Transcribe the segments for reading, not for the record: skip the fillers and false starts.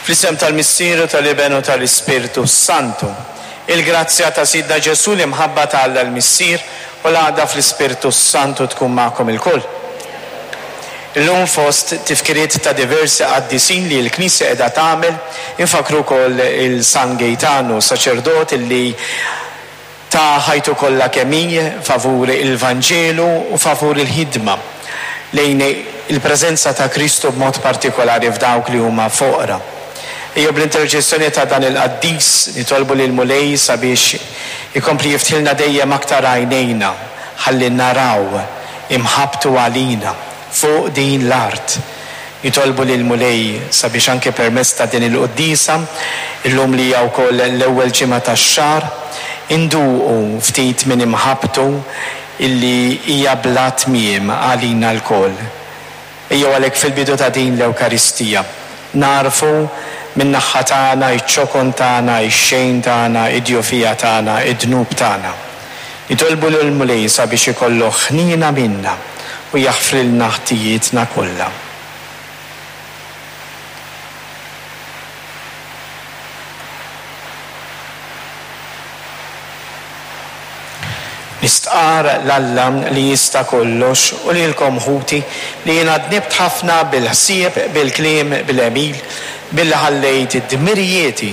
Fl-isem tal-Missier u tal-Iben u tal-Ispirtu s-Santu. Il-grazzja ta' Sidna Ġesù, l-imħabba ta' Alla l-Missier u l-għaqda fl-Ispirtu s-Santu tkun magħkom ilkoll. Illum fost tifkiriet ta' diversi qaddisin li l-Knisja qiegħda tagħmel, infakkru wkoll il San Gejtanu, saċerdot li ta ħajtu kollha kemm hi favur il-Vanġelu u favur il-ħidma lejn il-preżenza ta' Kristu b'mod partikolari f'dawk li huma foqra. Ejjew bl-interċessjoni ta' dan il-qaddis nitolbu lill-Mulej sabiex ikompli jiftħilna dejjem aktar għajnejna ħalli naraw imħabbtu għalina fuq din l-art. Nitolbu lill-Mulej sabiex anke permezz ta' din il-quddiesa, illum li hija wkoll l-ewwel ġimgħa tax-xahar, induqu ftit minn imħabbtu illi hija bla tmiem għalina lkoll. Ejjew għalhekk fil-bidu ta' din l-Ewkaristija, nagħrfu min-naħha tagħna iċ-ċokon tagħna, ix-xejn tagħna, id-djufija tagħna, id-dnub tagħna. Nitolbu lill-Mulej sabiex ikollu ħniena minna u jaħfrilna ħtijietna kollha. Nistqarr 'l Alla li jista' kollox u lilkom ħuti li jiena dnibt ħafna bil-ħsieb, bil-kliem, bil-għemil, billi ħallejt dmirijieti,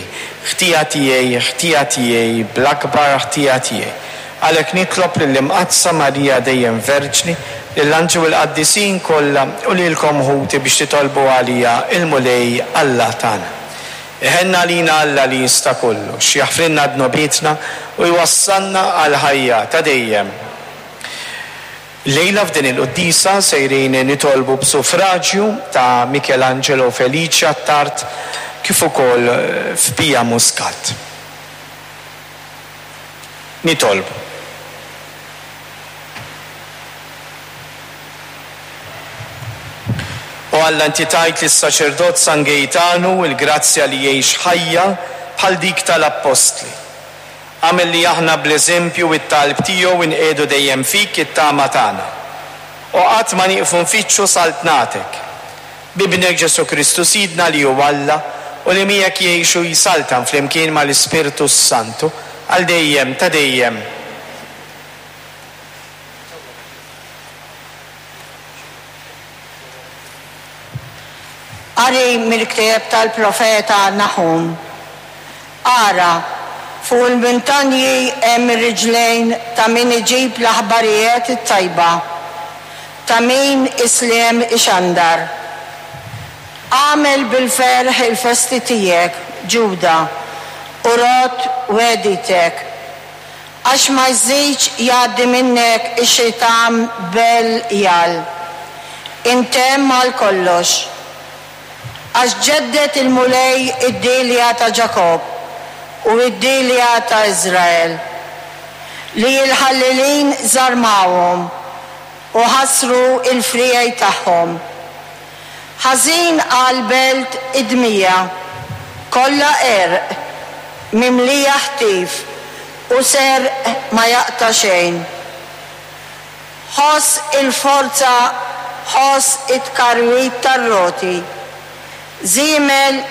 ħtija tiegħi, ħtija tiegħi, bl-akbar ħtija tiegħi. Għalhekk nitlob lill-Imqaddsa Marija dejjem Verġni, lill-anġli u l-qaddisin kollha u lilkom ħuti biex titolbu għalija l-Mulej Alla tagħna. Iħenn għalina Alla li jista' kollox, jaħfrilna dnubietna u jwassalna għall-ħajja ta' dejjem. Illejla f'din il-quddiesa sejrin nitolbu b'suffraġju ta' Michelangelo Felice Attard kif ukoll f'Pia Muscat. Nitolbu. O Alla inti tajt lis-saċerdot San Gejtanu l-grazzja li jgħix ħajja bħal dik tal-appostli. Agħmel li aħna bl-eżempju u t-talb tiegħu nqiegħdu dejjem fik it-tama tagħna. U qatt ma nieqfu nfittxu saltnatek. B'Ibnek Ġesù Kristu Sidna li hu Alla u li miegħek jgħix u jsaltan flimkien mal-Ispirtu s-Santu għal dejjem ta' dejjem. Qari mill-ktieb tal-profeta Naħum. Ara, fuq il-muntanji hemm ir-riġlejn ta' min iġib l-aħbarijiet it-tajba, ta' min is-sliem ixandar. Agħmel bil-ferħ il-festi tiegħek, Ġuda, u rodd wegħditek. Għax ma jżidx jgħaddi minnek ix-xitan Bel-jal. Intemm għal kollox. Għax ġedded il-Mulej id-dielja ta' Ġakobb u d-dielja ta' Iżrael, li l-ħallelin żarmawhom u ħassru l-friegħi tagħhom. Ħażin għall-belt id-dmija, kollha għerq, mimlija ħtif u serq ma jaqta' xejn. Ħoss il-forza, ħoss it-tkarwit tar-roti. Żiemel.